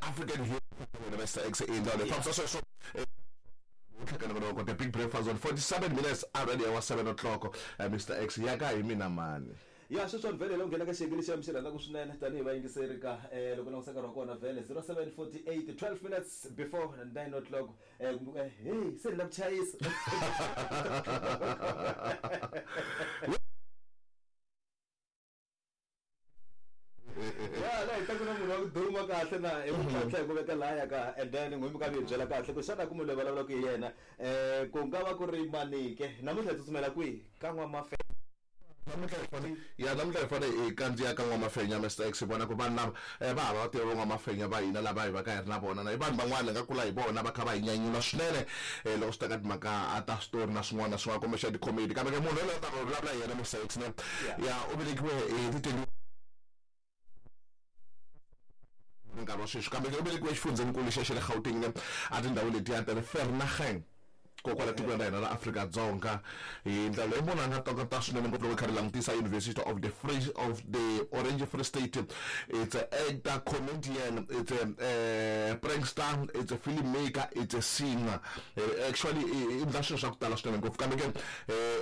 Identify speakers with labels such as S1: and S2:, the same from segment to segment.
S1: African Hero Mr X i ndlela leyi fambisa sweswo ntlhakano the big breakfast on 47 minutes already wa 7 o'clock. Mr X ya ka hi mina mani
S2: ya sweswiwani vhele lo nghena ka xiyenge lexi mi xi rhandzaka swinene tanihi vayingiseri ka loko langutisa nkarhi wa kona vhele 07:48, 12 minutes before 9 o'clock. Hey, se ni la ku chayisa. Ya la hi ta ku na munhu wa ku duma kahle na hi ku tlhantlha hi ku veka lahaya ka, and then n'wi mi ka mi hi byela kahle ku xana ku munhu loyi vulavulaka hi yena ku nga va ku ri manike. Namuntlha hi tsutsumela kwihi? Ka N'wamafe.
S1: Namuntlha hi fane ya namuntlha hi fane hi kandziya ka N'wamafenya Mr X, hi vona ku vanhu lava va hava va tiva van'wamafenya va hina lava hi va ka hi ri na vona na i vanhu van'wana hi nga kula hi vona va kha va hi nyanyula swinene loko swi ta ka timhaka ta switori na swin'wana na swin'wana kumbexana ti-comedy. Kambe ke munhu yoloye ta vulavula hi yena Mr X ne ya u velekiwe hi ti 20 nkarhi wa sweswi, kambe ke u velekiwe exifundzhenikulu xa le Gauteng ne a tindhawu letiya ta le Vernageng kokwala tikweni ra hina ra Afrika-Dzonga. Hi ndlela leyi munhu a nga tokota swinene ngopfu loko hi kha ri langutisa University of the Free of the Orange Free State. It's a actor, comedian, it's a prankster, it's a film maker, it's a singer. Actually i endla swilo swa ku tala swinene ngopfu, kambe ke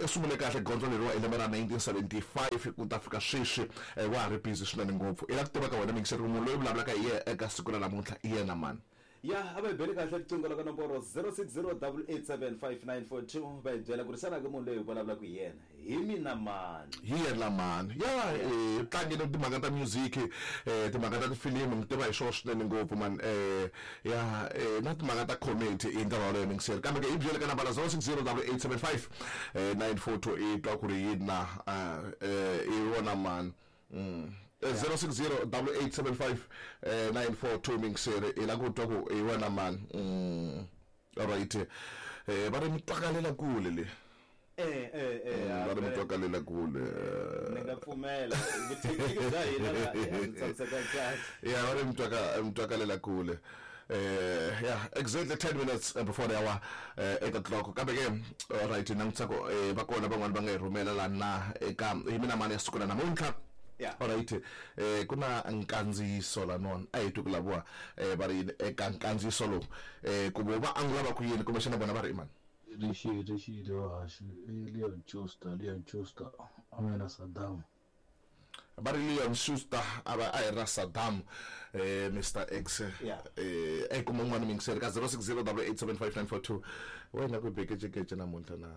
S1: i sungule kahle gondzo leriwa hi lembe ra 1975 ku ta fika sweswi wa ha ri busy swinene ngopfu. I la ku tiva ka wena mingiseri ku munhu loyi vulavulaka hi yena eka siku ra namuntlha i yena mani?
S2: Ya a va hi beli kahle riqingho la ka nomboro 0608875942, va hi byela ku ri xana ke munhu loyi hi vulavulaka hi yena hi mina mani?
S1: Hi yena mani? Ya tlangile timhaka ta music, timhaka ta tifilimu mi tiva hi swona swinene ngopfu mani. Ya na timhaka ta comedy hi ndlela yaleyo mingiseri, kambe ke hi byele ka nambara 06088759 942 i twa ku ri yini na i wona mani. 06088759 942 mingiseri, i la ku twa ku i wena mani. Alright, va ri mi twakalela kule le. Va ri mi twakalela kule.
S2: Ni nga pfumela vuthekiniki bya hina la a byi tshamiseka kahle.
S1: Ya va ri mi twakalela kule. Yeah, exactly 10 minutes before the hour 8 o'clock. Kambe ke alright, langutisa ku va kona van'wani va nga hi rhumela la na eka hi mina mani ya siku ra namuntlha. Alright, ku na nkandziyiso lanwani a hi twi ku laviwa va ri yini eka nkandziyiso lowu, ku vo va angula va ku yini kumbexana vona va ri i mani.
S3: Rixile vahaxi i Leon Schuster, Leon Schuster a nga na Saddam.
S1: Va ri Leon Schuster a va a hi ri na Saddam Mr X. E kuma un'wana mingiseri ka 0608875942 wena ku bekecekece namuntlha na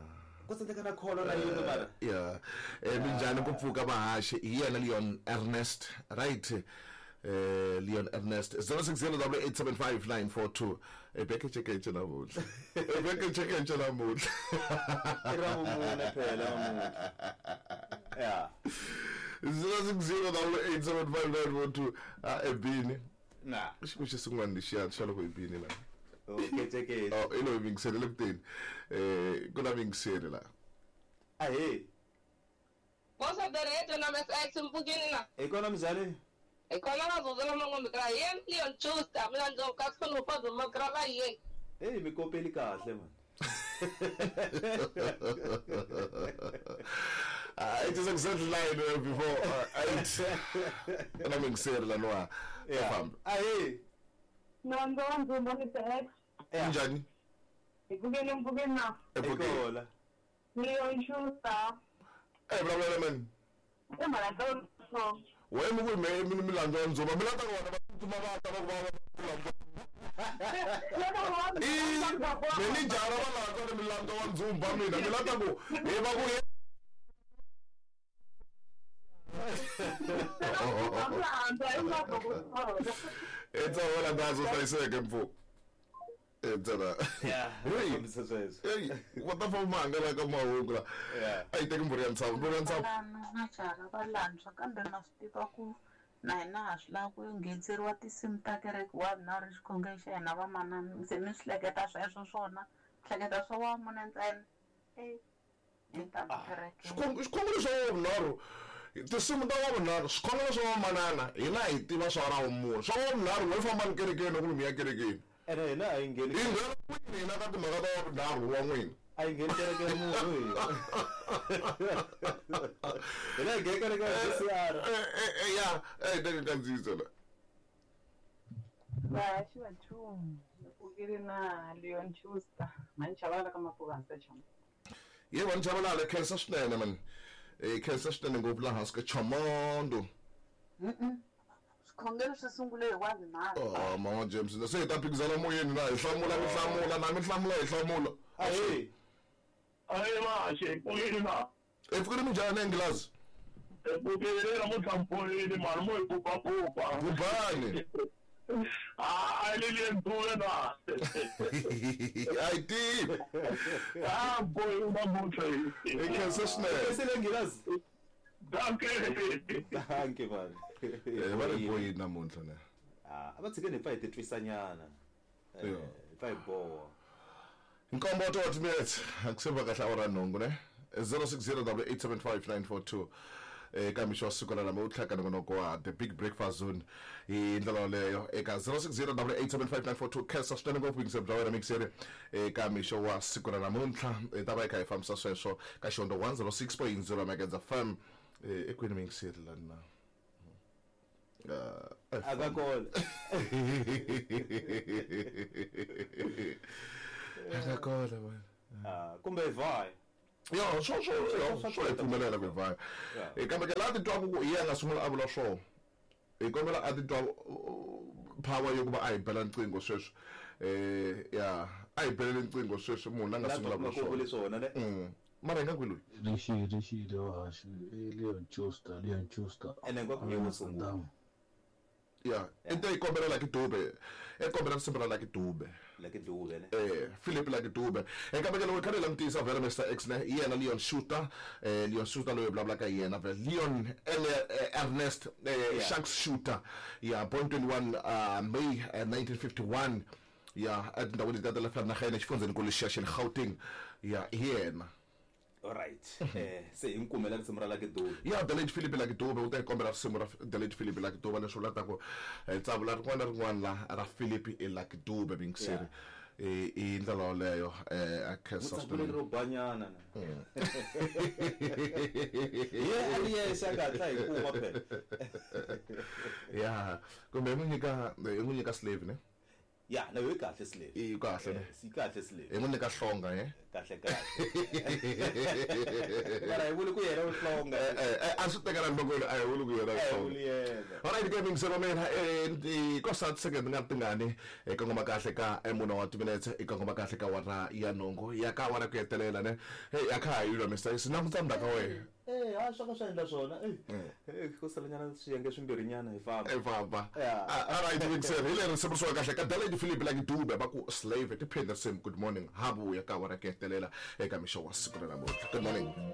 S2: ku tsandzeka na kholo na yini mara.
S1: Ya minjhani ku pfuka vahaxi hi yena Leon Ernest, right? Leon Ernest 0608875942 bekecekece namuntlha, bekecekece namuntlha
S2: i ra vumune phela namuntlha. Ya
S1: 0608875942 a ebini
S2: na
S1: xiko xi sin'wana lexiya xa loko ebini la
S2: kecekece.
S1: Oh, i loyi mingiseri le kuteni ku na mingiseri la.
S2: Ahee.
S4: What's up, the na Miss X mpfukini na?
S2: Hi kona minjhani?
S4: Hi kona va zuzela mangombe kra yena Leon Schuster mina ndzi ka khona pa zuma kra va yena.
S2: Hey, mi kopeli kahle man.
S1: It is exactly 9 before 8. Na mingiseri la noa.
S2: Yeah. Ahee.
S5: Nonzo nzumba Mr X.
S1: Minjhani?
S5: Hi pfukeni mpfukeni na.
S2: Hi kona.
S5: Leon Schuster.
S1: Vulavula mani.
S5: I mhaka ta so.
S1: Wena mi ku me mi milandzu ya ndzumba mi lata ku vona va tsutsuma va ta va ku va va menijara va landza ni milandzu wa ndzumba mina mi lata ku hi va ku etsawela ndazo hlayiseke mpfu ntsena. Hey, va ta famba hangalaka mahungu la. A yi teki mbhuri ya ntshava, mbhuri ya ntshava.
S6: Na jara va lantswa kambe ma swi tiva ku na hina ha swi lava ku nghenetseriwa tinsimu ta kereke wa na ri xikhongelo xa hina vamanana se mi swi hleketa sweswo swona hleketa swa wa mune ntsena
S1: xikhongelo xa wa vunharhu tinsimu ta wa vunharhu swikhongelo swa vamanana hina hi tiva swa ra vumune swa wa vunharhu n'we fambani kerekeni loko mi ya kerekeni.
S2: Ene hina a yi ngheni
S1: hi nghena kwini hina ka timhaka ta wa vunharhu wa n'wina?
S2: A yi ngheni kereke ya munhu hina. Hina hi ngheni kereke ya JCR.
S1: Ya teke nkandziyiso la.
S5: Vahaxi va nchumu ni pfukile na Leon Schuster mhani Chabalala ka Mapuvanza Chomo.
S1: Ye mhani Chabalala khensa swinene man. Khensa swinene ngopfu laha hansi ka Chomondo.
S6: Swikhongelo swi sungule hi 1:30.
S1: Oh mama James se hi ta phikizana moyeni na hi hlamula mi hlamula na mi hlamula hi hlamula.
S2: Ahee.
S7: Ahee maxe, pfukile na.
S1: Hi pfukile minjhani Nghilazi?
S7: Hi pfukile namuntlha mi pfukile mani mo hi pupapupa.
S1: Bubani.
S7: Ah, Lilian Dube na.
S1: A yi tivi.
S7: Ah, boy namuntlha
S1: Hi khensa swinene.
S2: Khensile Nghilazi.
S7: Danke.
S2: Danke man.
S1: Va ri boyini namuntlha ne.
S2: Ah, a va tshikeni hi pfa hi titwisanyana.
S1: Yeah.
S2: Hi pfa hi boha.
S1: Nkombo wa timinetse akuseva kahle awara nhungu ne 0608875942 eka mixo wa siku ra namuntlha u tlhaka nongonoko wa the big breakfast zone hi ndlela yoleyo eka 0608875942 khensa swinene ngopfu yingiselo bya wena mixeri eka mixo wa siku ra namuntlha hi ta va hi kha hi fambisa sweswo ka xihondzo 106.0 Magedza FM ekwini mixeri lani na
S2: A ka kona.
S1: Aka kona man.
S2: Ah, kumbe hi vhaya.
S1: Ya, swo swo swo swo hi pfumelela ku hi vhaya. Kambe ke laha titwaku ku hi yena a nga sungula a vula swona hi kombela a titwa power yo ku va a hi bela nqingho sweswi ya a hi belele nqingho sweswi munhu la nga
S2: La
S1: sungula
S2: twa
S1: vula
S2: ku vule
S1: swona
S2: swona ne.
S1: Mara hi nga kwi loyi
S3: Rixile rixile vahaxi i Leon Schuster Leon Schuster
S2: Ene hinkwako hi wo sungula.
S3: Saddam.
S1: Ya i te yi kombela Lucky Dube i kombela risimu ra Lucky Dube
S2: Lucky Dube ne.
S1: Philip Lucky Dube kambe ke loko hi kha hi langutisa vhele Mr X ne hi yena Leon Schuster Leon Schuster loyi hi vulavulaka hi yena vhele Leon Ernest Sharks Shooter ya born 21 May 1951 ya etindhawini letiya ta le Vereeniging exifundzheninkulu lexiya xa le Gauteng ya hi yena.
S2: Alright. Se hi n'wi kumela risimu ra Lucky Dube.
S1: Ya the late Philip Lucky Dube u ta hi kombela risimu ra the late Philip Lucky Dube leswi vulaka ku tsavula rin'wana na rin'wana la ra Philip i Lucky Dube mingiseri i ndlela yoleyo a khensa
S2: Mutsavuleli ro banyana na. Hi ye a ri yexe a nga hatla hi kuma phela.
S1: Ya kumbe hi n'wi nyika hi n'wi nyika slave ne.
S2: Ya na yo yi kahle slave.
S1: Yi kahle ne.
S2: Yi kahle slave.
S1: Hi n'wi nyika hlonga he.
S2: Kahle kahle. Mara hi vuli ku yena u hlonga.
S1: A swi tekela nhlokweni a hi vuli ku yena
S2: A hi
S1: hlonga.
S2: vuli yena.
S1: Alright ke mingiselo wa mina ko sa second nga tingani hi kongoma kahle ka mune wa timinetse hi kongoma kahle ka wara ya nhungu ya ka wara ku hetelela ne. Hey a kha ha yilwa Mr. X languta ndzhaku ka wena.
S2: A swa ka swa endla swona. Ko salanyana swiyenge swimbirhinyana hi famba.
S1: Hi famba.
S2: Yeah.
S1: Alright mingiselo hi leri risimu risiwa kahle ka Daledi Philip Lucky Dube va ku slave tiphinde risimu good morning ha vuya ka wara ku hetelela eka mixo wa siku ra namuntlha. Good morning.